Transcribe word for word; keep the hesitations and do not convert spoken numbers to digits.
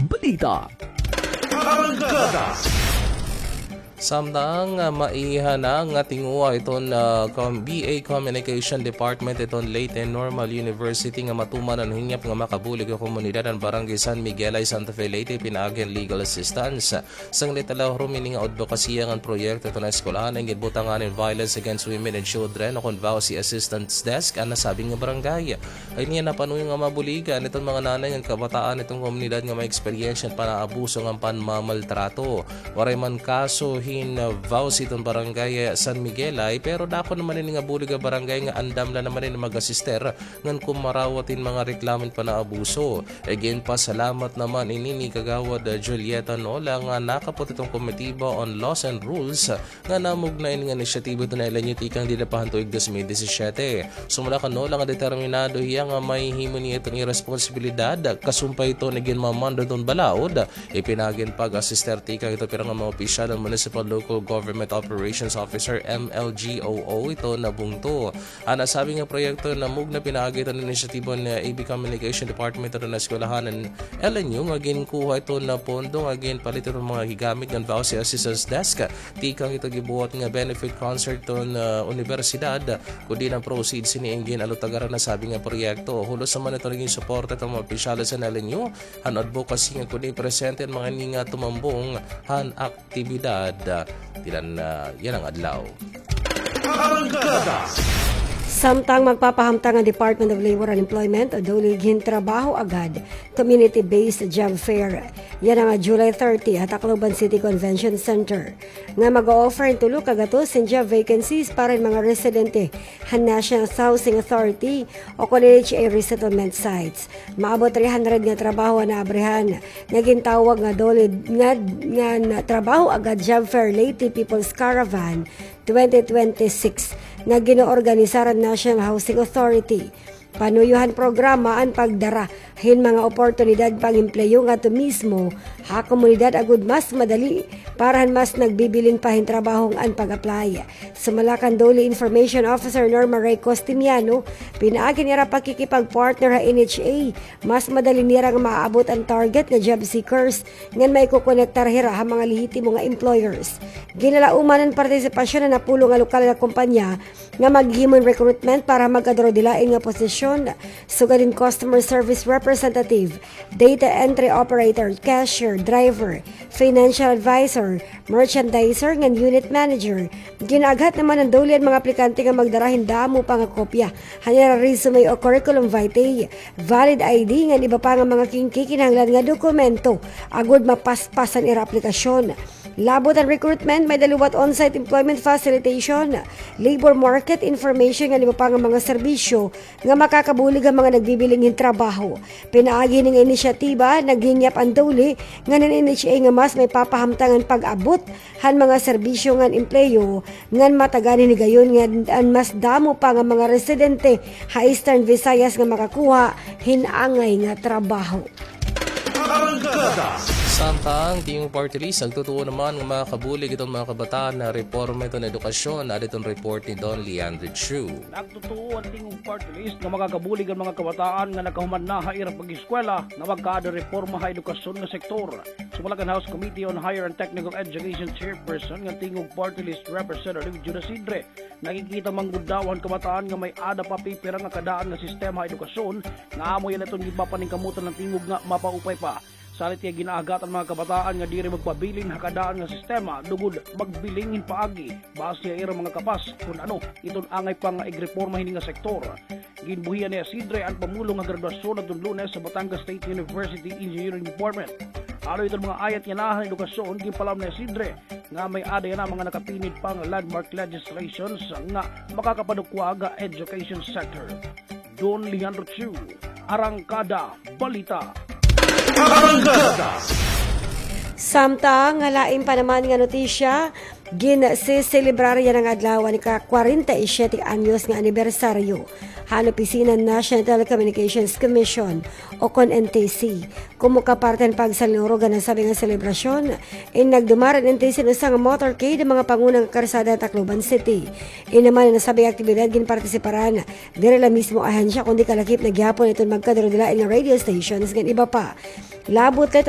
Balita. Arangkada. Samtang, ah, maiha na nga tinguha iton, ah, com-, B A Communication Department iton Leyte Normal University nga matuman an hingyap nga makabulig ha komunidad han Barangay San Miguel ha Santa Fe, Leyte, pinaagi hin legal assistance. Sanglit alahrom ini nga adbokasiya ngan proyekto iton eskwelahan nga ginbutangan hin Violence Against Women and Children o kon VAWC Assistance Desk an nasabi nga barangay. Ay niya napanuyo nga mabuligan iton mga nanay ngan kabataan iton komunidad nga may eksperyensya hin panaabuso ngan panmamaltrato. Waray man kaso hin VAWC iton barangay San Miguelay, pero dako naman ini nga bulig ha barangay nga andam la naman ini mag-asister ngan kumarawat hin mga reklamo hin panaabuso. Ginpasalamat naman ini ni Kagawad Julieta Nola nga nakapot iton Komitiba on Laws and Rules nga namugna ini nga inisyatiba iton L N U tikang dida pa han tuig dos mil disisiete. Sumala kan Nola nga determinado hiya nga mahihimo niya iton iya responsibilidad, kasumpay iton iginmamando iton balaod, ipinaagi hin pag-asister tikang iton pira nga mga opisyal han Municipal Local Government Operations Officer, M L G O O, iton bungto. An nasabi nga proyekto namugna pinaagi iton inisyatiba han A B Communication Department iton eskwelahan han L N U nga ginkuha iton pondo nga ginpalit iton mga higamit ngan VAWC Assistance Desk. Tikang iton gibuhat nga benefit concert iton, ah, unibersidad, kundi an proceeds hini an gin-alutagan han nasabi nga proyekto. Hulos naman iton nagin suporta iton mga opisyales han L N U han advocacy nga kundi presente an mga ini nga tumambong han aktibidad, ah, tinan, ah, yana nga adlaw. Arangkada. Samtang magpapahamtang an Department of Labor and Employment o DOLE hin Trabaho Agad Community-Based Job Fair yana nga July thirty ha Tacloban City Convention Center nga mag-o-offer hin tulo ka gatos hin job vacancies para hin mga residente han National Housing Authority o kon N H A resettlement sites. Maabot three hundred nga trabaho an naabrihan nga gintawag nga DOLE nga, nga, nga Trabaho Agad Job Fair Leyte People's Caravan twenty twenty-six nga ginoorganisar han National Housing Authority. Panuyo han programa an pagdara hin mga oportunidad pang-empleyo ngadto mismo ha komunidad agod mas madali para han mas nagbibiling pa hin trabaho an pag-apply. Sumala kan DOLE Information Officer Norma Ray Costimiano, pinaagi han ira pakikipag-partner ha N H A, mas madali nira nga maaabot an target nga job seekers ngan maikokonektar hira ha mga lehitimo nga employers. Ginalauman an partisipasyon han napulo nga lokal nga kompanya nga maghimo hin recruitment para ha magkadurodilain nga posisyon, sugad hin customer service representative, data entry operator, cashier, driver, financial advisor, merchandiser ngan unit manager. Gin-aaghat naman han DOLE an mga aplikante nga magdara hin damo pa nga kopya han ira resume o curriculum vitae, valid I D ngan iba pa nga mga kin-, kikinahanglan nga dokumento agod mapaspas an ira aplikasyon. Labot han recruitment, may-ada liwat on-site employment facilitation, labor market information ngan iba pa nga mga serbisyo nga makakabulig ha mga nagbibiling hin trabaho. Pinaagi hini nga inisyatiba, naghingyap an DOLE ngan an N H A nga mas mapapahamtang an pag-abot han mga serbisyo ngan empleyo ngan matagan hin higayon nga an mas damo pa nga mga residente ha Eastern Visayas nga makakuha hin angay nga trabaho. Arangkada. Samtang Tingog Party List, nagtutuo naman nga makabulig iton mga kabataan ha reforma iton edukasyon. Adi iton report ni Don Leandro Chu. Nagtutuo an Tingog Party List nga makakabulig an mga kabataan nga nakahuman na ha ira pag-eskwela nga magkaada reforma ha edukasyon nga sektor. Sumala kan House Committee on Higher and Technical Education Chairperson ngan Tingog Party List Representative Judas Sidre, nakikita man gud daw han kabataan nga may-ada pa pipira nga kadaan nga sistema ha edukasyon nga amo yana iton ginpapaningkamotan han tingog nga mapaupay pa. Salit hiya, gin-aagat an mga kabataan nga diri magpabilin ha kadaan nga sistema lugod magbiling hin paagi base ha ira mga kapas kun ano iton angay pa nga igreporma hini nga sektor. Ginbuhian ni Isidre an pamulong ha graduasyon adton Lunes ha Batangas State University Engineering Department. Halo iton mga ayat yana han edukasyon, ginpalaom ni Isidre nga may-ada yana mga nakapinid pa nga landmark legislations nga makakapadukwag ha education sector. Don Leandro Chu, Arangkada Balita. Arangkada. Samtang ha lain pa naman nga notisya, ginseselebrar yana nga adlaw an ika-kwarenta y siyete anyos nga anibersaryo han opisina han National Telecommunications Commission o kon N T C. Komo ka parte han pagsalinurog han nasabi nga selebrasyon, in nagdumara an N T C hin usa nga motorcade ha mga panguna nga karsada han Tacloban City. In naman an nasabi nga aktibidad ginpartisiparan diri la mismo ahensya kundi kalakip na gihapon iton magkadurodilain nga radio stations ngan iba pa. Labot la iton